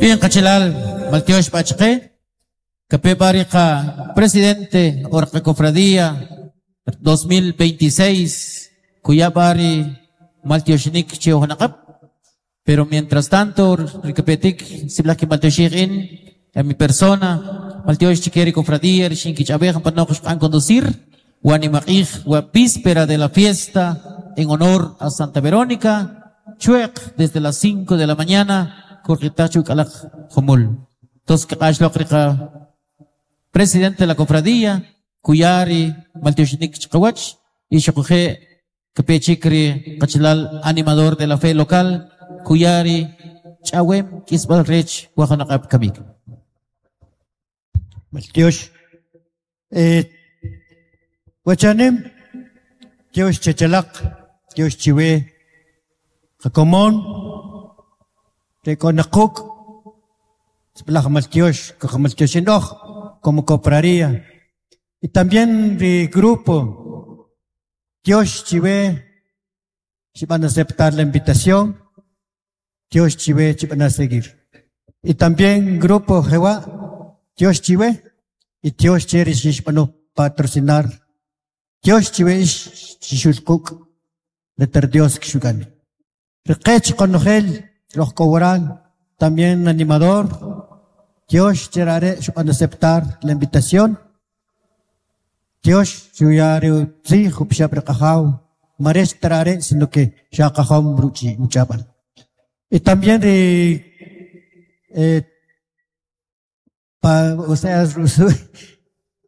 Bien, qachalal, maltyox b'a chqe, kape b'a ri qa presidente o ri qacofradía 2026 kuya b'a ri maltyoxinik che ujnaqab'. Pero mientras tanto, ri kapetik sib'alaj kinmaltyoxij in a mi persona, maltyox chike ri cofradía ri xinkich'ab'ej panoq xb'an conducir wa nimaq'ij wa víspera de la fiesta en honor a Santa Verónica, chwe'q desde las 5 de la mañana kujriqitaj chu k'alaj jumul. Entonces kq'ax loq ri qa presidente de la cofradía kuya ri maltyoxinik chqawach y xuquje' Kape chik ri qachalal animador de la fe local kuya ri ch'awem k'isb'al rech wa jun aq'ab' kamik. Maltyox. Eh, wachanim, tyox chechalaq, tyox chiwe, qakomon, re k'o na quk', sib'alaj maltyox, kajmaltyoxin oj, como cofradía. Y también ri grupo Tyox chiwe xib'an aceptar la invitación, tyox chiwe chib'ana seguir. Y también grupo Jehová, tyox chiwe y tyox che ri xixb'ano patrocinar. Tyox chiwe ix xixul quk' reter Dios kxuk'an. Ri qech qonojel roj k'o waral, también animador, tyox che are' xub'an aceptar la invitación. Tyox xuya ri utzij upixab' ri Qajaw, ma rech ta are' sino que xa qajom ruchi uch'ab'al. Y también ri eh, pa, o sea,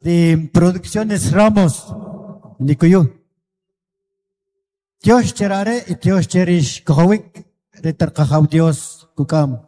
de Producciones Ramos, Nikuyu. Tyox che are' y tyox che ri xkojowik ri tar Qajaw Dios kuk'am.